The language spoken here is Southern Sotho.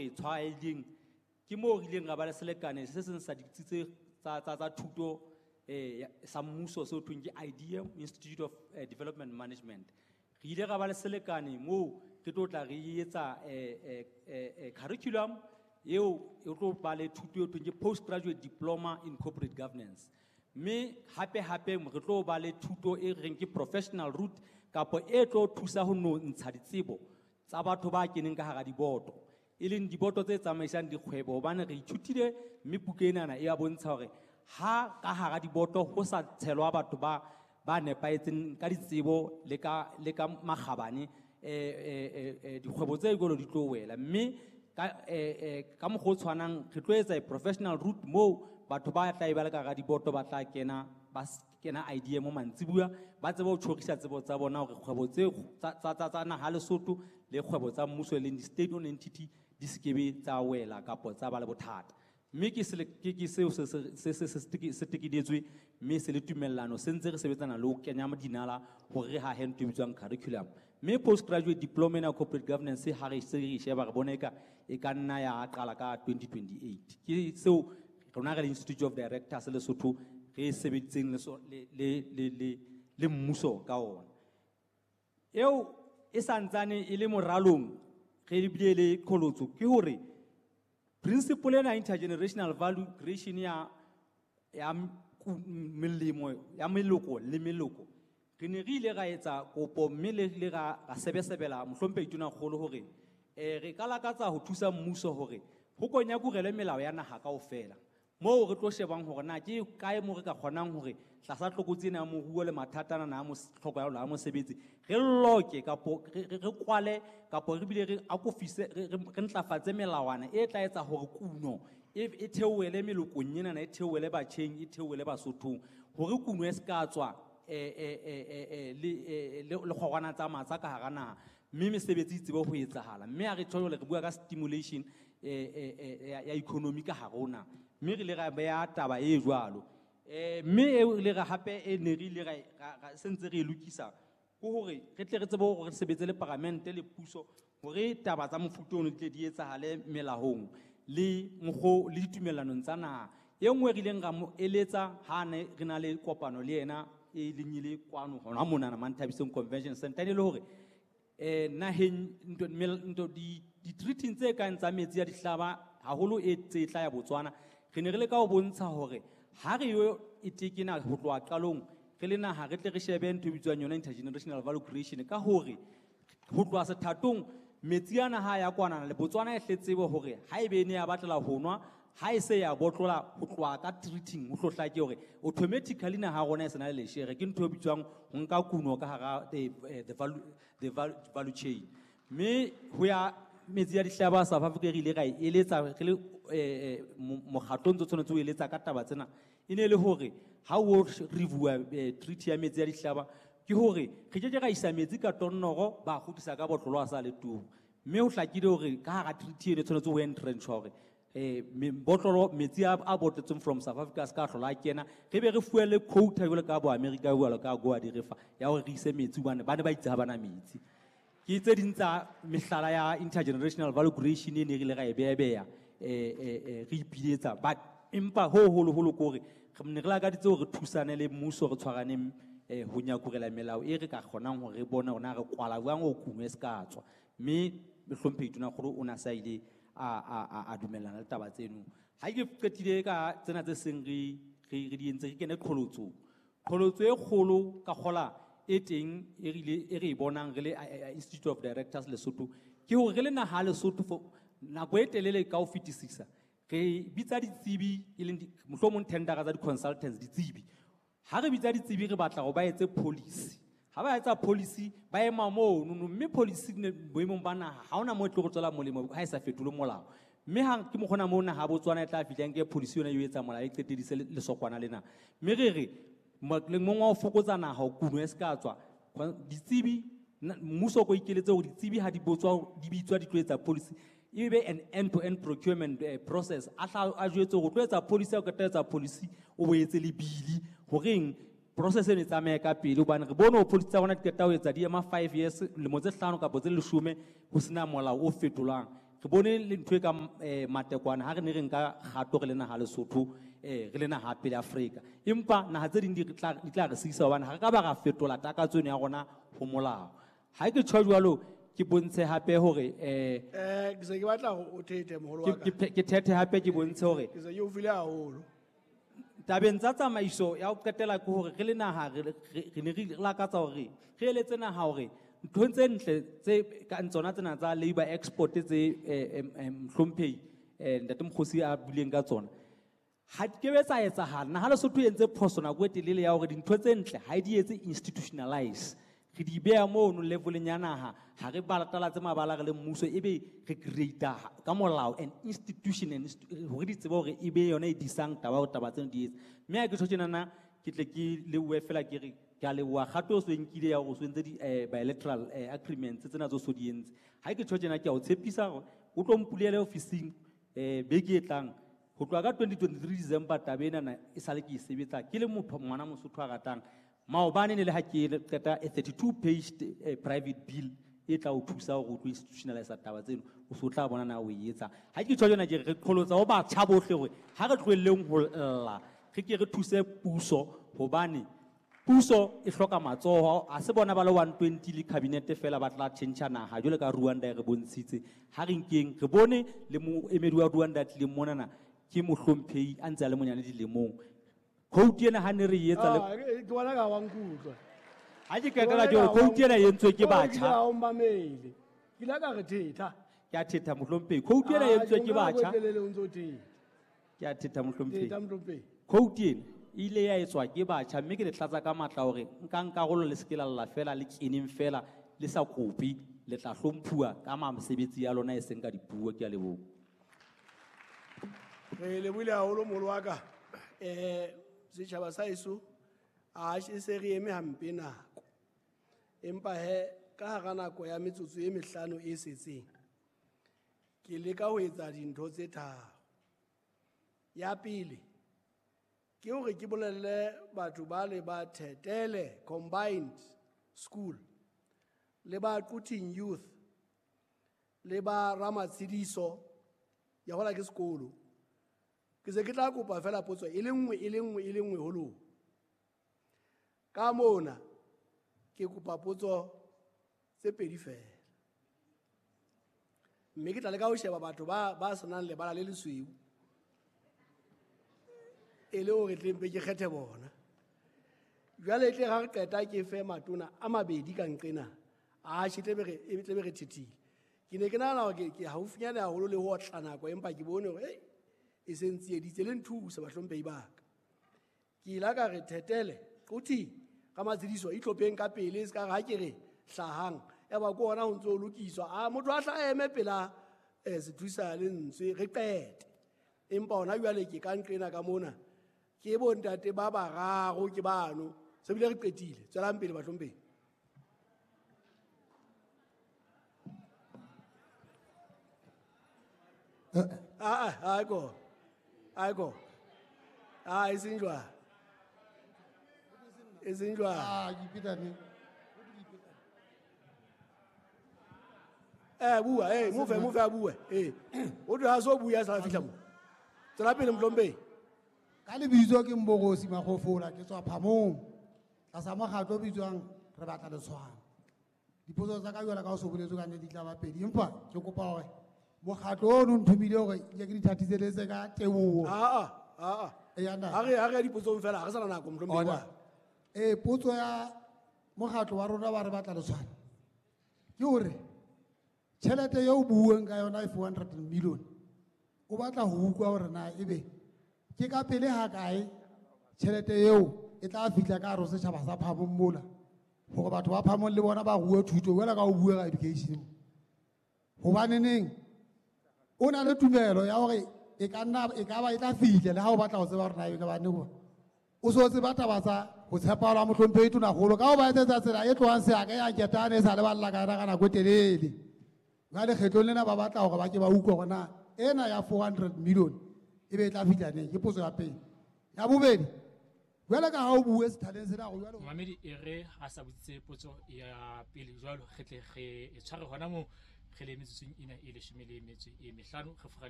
re tshwaileng ke moo re ileng ra ba le selekane se seng sa ditsi tse tsa thuto sa mmuso seo thweng ke IDM, Institute of Development Management. Re ile ra ba le selekane moo re tlo tla re etsa curriculum eo e tlo ba le thuto eo thweng ke postgraduate diploma in corporate governance. Mme hape hape re tlo ba le thuto e reng ke professional route kapo e tlo thusa ho no ntsha ditsebo tsa batho ba keneng ka hara diboto, e leng diboto tse tsamaisang dikgwebo, hobane re ithutile mme buka enana e a bontsha hore ha ka hara diboto ho sa tshelwa batho ba nepahetseng ka ditsebo le ka makgabane, dikgwebo tse jwalo di tlo wela. Mme ka mokgwa o tshwanang re tlo etsa a professional route moo batho ba tla e ba le ka hara diboto ba tla kena ba kena IDM mantsibuya ba tsebe ho tjhorisa tsebo tsa bona hore kgwebo tse tsa naha Lesotho le kgwebo tsa mmuso e leng di-state owned entity di se kebe tsa wela kapo tsa ba le bothata. Mme ke seo se tekedetswe mme se le tumellano se ntse re sebetsana le ho kenya dinala hore re hahe ntho e bitswang curriculum. Mme postgraduate diploma ena ya corporate governance ha re se re e sheba re bona eka e ka nna ya qala ka 2028. Ke seo rona re le Institute of Directors Lesotho re sebeditseng le so- le le le le le mmuso ka ona. Eo e santsane e le moralong re bile le qholotso ke hore principle ena intergenerational value creation ya melemo ya meloko le meloko, re ne re ile ra etsa kopo mme le ra sebesebela mohlomphehi Tonakgolo hore re ka lakatsa ho thusa mmuso hore ho konyakurele melao ya naha kaofela moo re tlo shebang hore na ke kae moo re ka kgonang hore tlasa tlokotsi ena ya moruo le mathata ana a tlhoko ya mosebetsi re loke kapo re kwale kapo re bile re akofise re ntlafatse melawana e tla etsa hore kuno e theohele melokong enana, e theohele batjheng, e theohele Basothong, hore kuno e se ka tswa le kgorwana tsa matsa ka hara naha mme mesebetsi e tsebe ho etsahala. Mme ha re tjho jwale re bua ka stimulation ya economy ka hare ho naha mme re ile ra beha taba e jwalo. Mme eo re ile ra hape e ne re ile ra se ntse re e lokisa ke hore re tle re tsebe hore re sebetse le paramente le puso hore taba tsa mofuta ono di tle di etsahale melahong le mokgo le ditumellanong tsa naha. E nngwe re ileng ra mo eletsa ha ne re na le kopano le yena e leng e le kwano hona monana Manthabiseng Convention Center, e le hore naheng ntho di-treaty tse kang tsa metsi a dihlaba haholo e tse tla ya Botswana, re ne re leka ho bontsha hore ha re yo e tekena ho tloha qalong re le naha re tle re shebe ntho e bitswang yona intergenerational value creation ka hore ho tloha sethatong metsi ana ha ya kwanana le Botswana e hle tsebe hore ha ebe e ne ya batlela ho nwa ha e se ya botlola ho tloha ka treating ho hlo hlake hore automatically naha ya rona e se na le leshere. Ke ntho e bitswang ho nka kuno ka hara the value chain. Mme ho ya metsi ya dihlaba South Africa re ile ra e eletsa re le mokgatlo o ntso tshwanetse ho eletsa ka taba tsena e ne e le hore ha o reviewa treaty ya metsi ya dihlaba ke hore re ke ke ra isa metsi ka tonnoro ba kgutlisa ka botlolo a sa le tubu. Mme ho hlakile hore ka hara treaty eno e tshwanetse ho entrenchwa hore botlolo metsi a botletsweng from South Africa a se ka hlola a kena, re be re fuwe le quota jwalo ka bo America jwalo ka goa di re fa ya hore re ise metsi hobane ba ne ba itse ha bana metsi. Ke tse ding tsa mehlala ya intergenerational value creation e ne re ile ra e beya re ipiletsa, but empa ho holoholo ke hore re ne re lakaditse hore re thusane le mmuso re tshwaraneng ho nyakurela melao e re ka kgonang hore re bone hore na re kwala jwang ho kuno e se ka tswa. Mme mohlomphehi Tonakgolo o na sa ile a dumellana le taba tseno. Ha ke qetile ka tsena tse seng re di entse, re kene qholotsong. Qholotso e kgolo ka kgola e teng e re ile e re e bonang re le Institute of Directors Lesotho ke hore re le naha ya Lesotho for nako e telele ka ho fetisisa re bitsa ditsebi e leng mohlomong tendera tsa di-consultants ditsebi. Ha re bitsa ditsebi re batla hore ba etse policy. Ha ba etsa policy ba ema mono no, mme policy ne boemong ba naha ha hona moo e tlo re tswela molemo ha e sa fetole molao. Mme ha ke mokgona moo naha ya Botswana e tla fihla nke policy yona e etsa molao e qetedise lesokwana lena. Mme re re lemong wa ho fokotsa naha ho kuno e se ka tswa ditsebi mmuso o ko ikeletse hore ditsebi ha di botswa di bitswa di tlo etsa policy e be an end to end procurement process. A hla a jwetse hore o tlo etsa policy, ha o qeta etsa policy o bo etse le bili horeng process eno e tsamaye ka pele, hobane re bone hore policy tsa rona di qeta ho etsa di ema 5 years, lemo tse 5 kapa tse 10 ho sena molao o fetolang. Re bone le ntho e kang matekwane ha re ne re nka kgato re le naha Lesotho, re le naha pele Afrika. Empa naha tse ding di tla re siisa hobane ha re ka ba ra fetola takatso eno ya rona ho molao. Ha ke tjho jwalo, ke bontshe hape hore, Ke se ke batla hore o thethe moholo wa ka. Ke thethe hape ke bontshe hore Ke se ke o file haholo. Tabeng tsa tsamaiso ya ho qetela ke hore re le naha re ne re lakatsa hore re eletse naha hore nthong tse ntle tse kang tsona tsena tsa labor export tse mohlomphehi Ntate Mokgosi a buileng ka tsona, ha di kebe tsa etsahala. Naha Lesotho e entse phoso nako e telele ya hore dintho tse ntle ha di etse institutionalize. Re di beha mono leveleng ya naha, ha re batalatse mabala re le mmuso, ebe re create-a ka molao an institution and hore di tsebe hore e be yona e disang taba hore taba tseno di etse. Mme ha ke tjho tjenana, ke tle ke lebohe fela ke re, ke a leboha kgato o so e nkile ya hore o so entse di bilateral agreements tsena tse o so di entse. Ha ke tjho tjena, ke a o tshepisa hore o tlo mpulele ofising beke e tlang. Ho tloha ka 2023 December taba enana e sale ke e sebetsa ke le motho ngwana Mosotho a ratang. Maobane ne le ha ke qeta a 32 page private bill e tla o thusa hore o tlo institutionalize taba tseno, o so tla bona na o e etsa. Ha ke tjho tjena ke re, re qholotsa ho batjha bohle hore ha re tlohelleng ho lla, re ke re thuse puso, hobane puso e hloka matsoho. Ha se bona ba le 120 le cabinet fela ba tla tjhentjha naha jwalo ka Rwanda e re bontshitse. Ha re nkeng re bone le moemedi wa Rwanda a tlileng monana ke mohlomphehi a ntse a le monyane dilemong. Quote ena ha ne re e etsa le Ah, ke bona ka wa nkutlwa. Ha ke qetela ke hore quote ena e entswe ke Ke bona batjha. ka o mmamele. Ke ile ka re thetha. Ke a thetha mohlomphehi. Quote ena e Ah, entswe ke ke nka nako e batjha. telele o ntso thetha. Ke a thetha mohlomphehi. Thetha mohlomphehi. Quote ena e ile ya etswa ke batjha, mme ke le tlatsa ka matla hore nkang karolo le se ke la lla fela, le keneng fela, le sa kope, le tla hlomphuwa ka mesebetsi ya lona e seng ka dipuo. Ke a leboha. Re lebohile haholo moholo wa ka. Setjhaba sa heso, a e se re eme hampe nako. Empa he, ka hara nako ya metsotso e mehlano e setseng, ke leka ho etsa dintho tse tharo. Ya pele, ke hore ke bolelle batho ba le ba Thetele Combined School, le ba Quthing Youth, le ba Ramatshediso, ya hola ke sekolo. Ke se ke tla kopa fela potso e le nngwe, e le nngwe, e le nngwe ho lona. Ka mona, ke kopa potso tse pedi fela. Mme ke tla leka ho sheba batho ba senang lebala le lesweu, e le hore tle mpe ke kgethe bona. Jwale tle ha re qeta ke fe matona a mabedi ka nqena, atjhe, tle be re thethile. Ke ne ke nahana hore ke haufinyane haholo le ho otla nako, empa ke bone hore, ei, e se ntsieditse le nthusa bahlomphehi ba ka. Ke ile ka re Thetele, Quthing, Ramatshediso, itlhopheng ka pele, se ka re ha ke re hlahang, ya ba ke ona ho ntso ho lokiswa. A motho a hla eme pela, sethusa lentswe, re qete. Empa hona jwale ke ka nqena ka mona, ke bontate ba bararo ke bano, se bile re qetile. Tswelang pele bahlomphehi. Ah, ah, aiko. Aiko. Ah, e seng jwalo. E seng jwalo. Ah, ke ipeta neng? Bua, mofe, mofe a bue. O tlo ha so bua a sa fihla mo. Tswela pele mohlomphehi. Ka lebitso ke Mborosi Makgofola, ke tswa Phamong. Tlasa mokgatlo o bitswang Re Batla Letshwao. Dipotso tsa ka jwale ka ho so boletswe ka nnete di tla ba pedi, empa ke kopa hore mokgatlo ono nthomile hore ke ke di thathiseletse ka teboho. Ah, ah, ah, ah. Eya, ntate. Ha re ya dipotsong fela, ha re sa na nako, mohlomphehi Ona. wa ka. Potso ya mokgatlo wa rona wa Re Batla Letshwao ke hore tjhelete eo buuweng ka yona e 400 million, o batla ho utlwa hore na ebe ke ka pele ha kae tjhelete eo e tla fihla ka hare ho setjhaba sa Phamong mola, hore batho ba Phamong le bona ba rue thuto jwalo ka ho bua ka education. Hobaneneng o na le tumelo ya hore e ka nna, e ka ba e tla fihla le ha o batla ho tseba hore na e ka ba neng, o so tseba taba tsa ho tshepahala mohlomphehi Tonakgolo ka ho ba etsetsa tsela e tlohang Seaka ya Ketane e sa le balla ka yona ka nako e telele. Jwale kgetlong lena ba batla hore ba ke ba utlwe hore na ena ya 400 million e be e tla fihla neng. Ke potso ya pele. Ya bobedi, jwale ka ha o bue sethaleng sena hore jwale Momamedi e re a sa botsitse potso ya pele jwalo, re tle re e tshware hona moo, Re le metsotsong ena e 15 re forale.